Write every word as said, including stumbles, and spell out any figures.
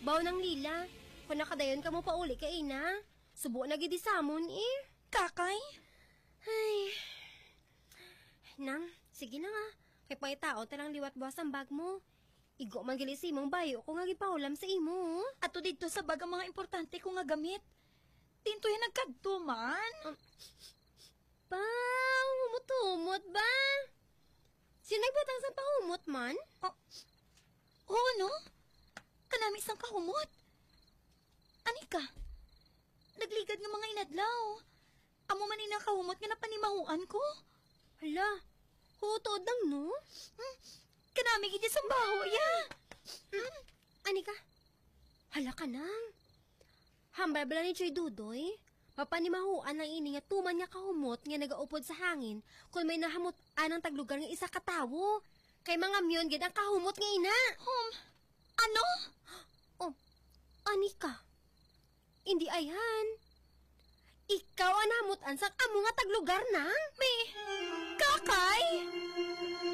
Baw nang Lila, kung nakadayon ka mo pauli ka ina, subo na gid samon eh. Kakay? Ay. Nang, sige na nga. Kay pangitaon ta lang liwat buwas ang bag mo. Igo man gali sa imong bayo ko nga gipahulam sa imo. Ato didto sa bag ang mga importante ko nga gamit. Dinto yan nagkadto man. Um, pa, humot-humot ba? Sino nagbutang sa pahumot man? Oh, oo, no? Kanami sang kahumot. Ani ka? Nagligad nga mga inadlaw. Amo man ina kahumot nga napanimahuan ko. Hala, huot-huot lang, no? Hmm, kanami gid sang baho, ya. Hmm, ani ka? Hala ka nang. Hambal bala ni Choy Dudoy? Mapanimahuan lang ini nga tuman nga kahumot nga nagaupod sa hangin kon may nahamut-an ang taglugar nga isa ka tawo. Kay mga myon gid ang kahumot nga ina. Um, ano? Oh, ani ka? Indi ayhan. Ikaw ang nahamut-an sang amo nga taglugar, nang? May kakay?